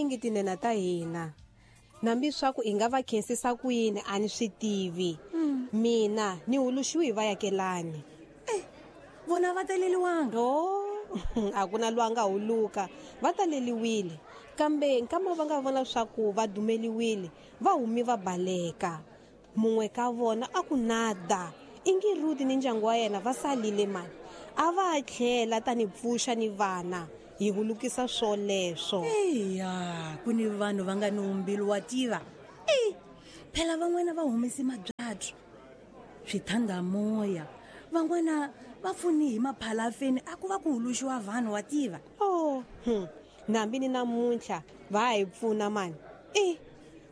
Tinyingi tinene ta hina. Nambi swa ku i nga va khensisa ku yini a ni swi tivi. Mina ni huluxiwi hi vayakelani. Eh, vona va taleliwanga? Oh, a ku na loyi a nga huluka, va taleliwile. Kambe nkama va nga vona swa ku va dumeliwile, va humi va baleka. Mun'we ka vona a ku nada, ingi Ruti ni ndyangu wa yena va salile mani. A va tlhela ta ni pfuxa ni vana, hi hulukisa swoleswo. Eya, ku ni vanhu va nga ni umbilu wa tiva. Ei, phela van'wana va humese mabyatso, swithandamoya, van'wana va pfuni hi maphalafeni a ku va ku huluxiwa vanhu wa tiva. Oh, nambi ni namuntlha va ha hi pfuna mani. E,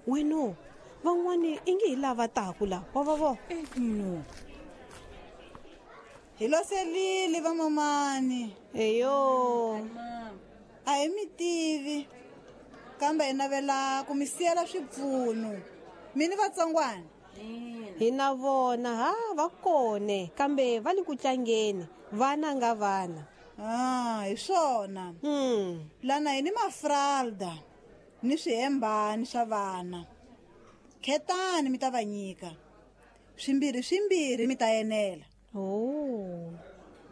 weno, van'wani i nge hi lava taku la, wa va vo. E, no. Hi loselile vamamani. Eyo. A hi mi tivi, kambe hi navela ku mi siyela swipfuno. Mi ni vatsongwana? Hi na vona, ha va kone, kambe va le ku tlangeni, vana nga vana. Ah, hi swona. Lana hi ni mafralda ni swihembani swa vana. Khetani mi ta va nyika. Swimbirhi swimbirhi mi ta enela. Oh.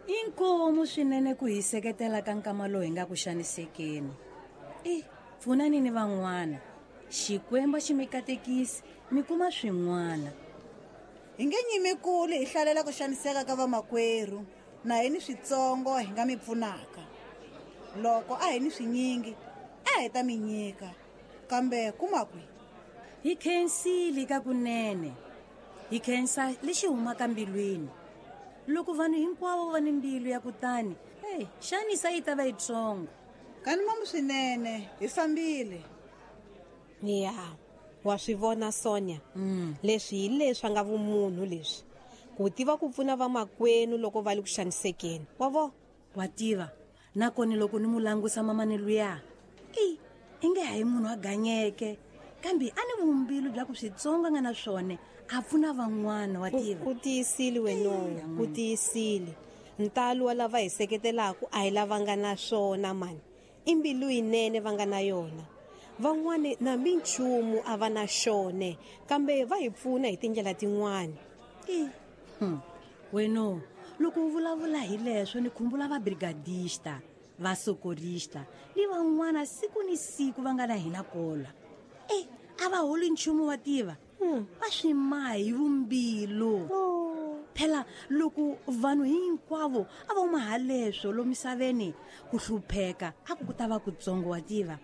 Inkomu swinene ku hi seketela ka nkama lowu hi nga ku xanisekeni. E, pfunani ni van'wana. Xikwembu xi mi katekisi, mi kuma swin'wana. Hi nge nyimi kule hi hlalela ku xaniseka ka vamakwerhu, na hi ni switsongo hi nga mi pfunaka. Loko a hi ni swinyingi, a hi ta mi nyika. Kambe kuma kwihi? Hi khensile ka kunene. Hi khensa lexi humaka mbilwini. Loko vanhu hinkwavo va ni mbilu ya kutani, hey, xanisa yi ta va yitsongo. Kani mamu swinene, hi fambile. Ya, wa swi vona Sonia. Leswi hi leswi nga vumunhu leswi. Ku tiva ku pfuna vamakwenu loko va le ku xanisekeni. Wa vo? Wa tiva, nakona loko ni mu langusa mamani luya, i inge hayi munhu a ganyeke, kambe a ni vumbilu bya ku switsongo nga na swona a pfuna van'wana, wa tiva. U tiyisile wena, u tiyisile. Ntalo wa lava hi seketelaka a hi lava nga na swona mani. I mbilu yinene va nga na yona. Van'wani na minchumu a va na xone, kambe va hi pfuna hi tindlela tin'wani. Weno, loko u vulavula hi leswo ni khumbula va brigadista, va sokorista ni van'wana siku ni siku va nga na hina kola. E, a va holi nchumu wa tiva. Va swi maha hi vumbilu. Phela loko vanhu hinkwavo a va huma haleswo lomisaveni, ku hlupheka a ku ku ta va kutsongo wa tiva.